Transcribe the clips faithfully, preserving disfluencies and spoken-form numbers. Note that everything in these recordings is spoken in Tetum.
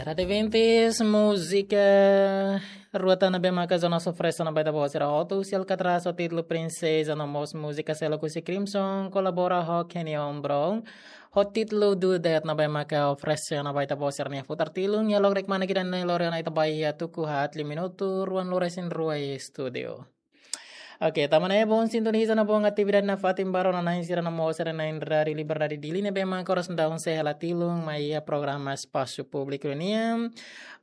Rate Vintis, múzika rua tan ne'ebé maka Jonas oferese ona ba ita-boot sira hotu, Alcatraz ho títulu Princesa, no mós múzika seluk husi Crimson, kolabora ho Kenyon Brown, ho títulu Do That ne'ebé maka oferese ona ba ita-boot sira-nia futar tilun, iha loron ida-ne'e lori ona ita ba iha tuku haat liu minutu, ruanulu-resin-rua iha estúdiu. Oke, tanba ne'e bom sintoniza no bom atividade nafatin ba rona-na'in sira no mós sira-na'in Rádiu Liberdade Dili ne'ebé maka oras daudaun sei hela tilun mai iha programa Espasu Públiku nian.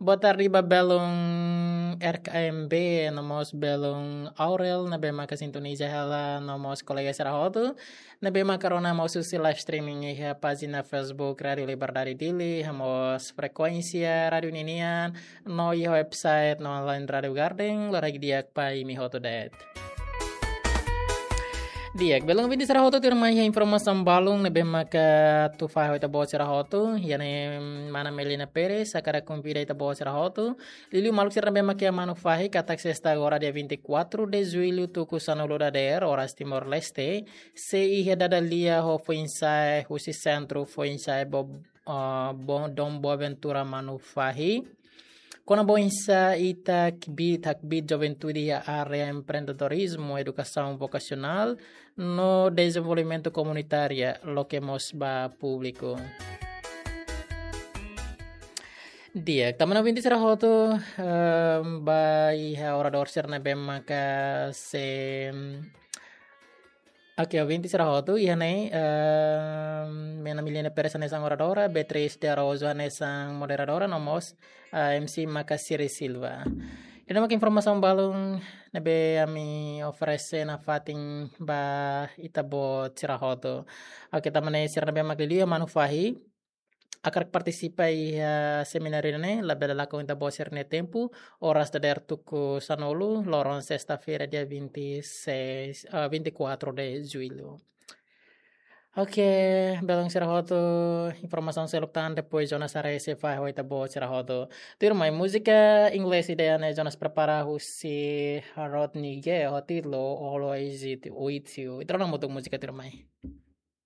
Boa tarde ba belun R K M B no mós belun Aurel ne'ebé maka sintoniza hela no mós kolega sira hotu ne'ebé maka rona mós husi live streaming iha pájina Facebook Rádiu Liberdade Dili, no mós frekuénsia rádiu ninian, no iha website no online Rádiu Garden, loraik di'ak ba imi hotu de'it. Di'ak, belun ouvinte sira hotu, tuirmai iha informasaun balun ne'ebé maka atu fahe ho ita-boot sira hotu, iha ne'e mana Melina Pérez hakarak konvida ita-boot sira hotu, liuliu maluk sira ne'ebé maka iha Manufahi, katak sesta agora dia vinte e quatro de julho tuku sanulu dadeer, oras Timor-Leste, sei iha dada lia ho foin-sa'e husi Sentru Foin-sa'e Bo-, ah, Bo-, Dom Boaventura Manufahi. Kona-ba oinsá ita kbiit, hakbiit juventude iha área empreendedorizmu, edukasaun vokasionál, no dezenvolvimentu komunitáriu, loke mós ba públiku. Di'ak, tanba ne'e ouvinte sira hotu, ehm, ba iha oradór sira ne'ebé maka sei, oke, ouvinte sira hotu, iha ne'e, ehm, mana Melina Pérez hanesan oradora, Beatriz de Araújo hanesan moderadora, no mós, ah, M C maka Siri Silva. Ida-ne'e maka informasaun balun ne'ebé ami oferese nafatin ba ita-boot sira hotu. Oke, tanba ne'e sira ne'ebé maka liuliu iha Manufahi hakarak partisipa iha semináriu ne'e, labele lakon ita-boot sira-nia tempu, oras dadeer tuku sanulu, loron sesta-feira dia vinte e seis, ah, vinte e quatro de julho. Oke, belun sira hotu, informasaun seluk tan, depois Jonas haree sei fahe ho ita-boot sira hotu. Tuirmai, múzika inglés ida-ne'e Jonas prepara husi Rodney Gay, ho títulu Always It With You. Ita rona hamutuk múzika, tuirmai.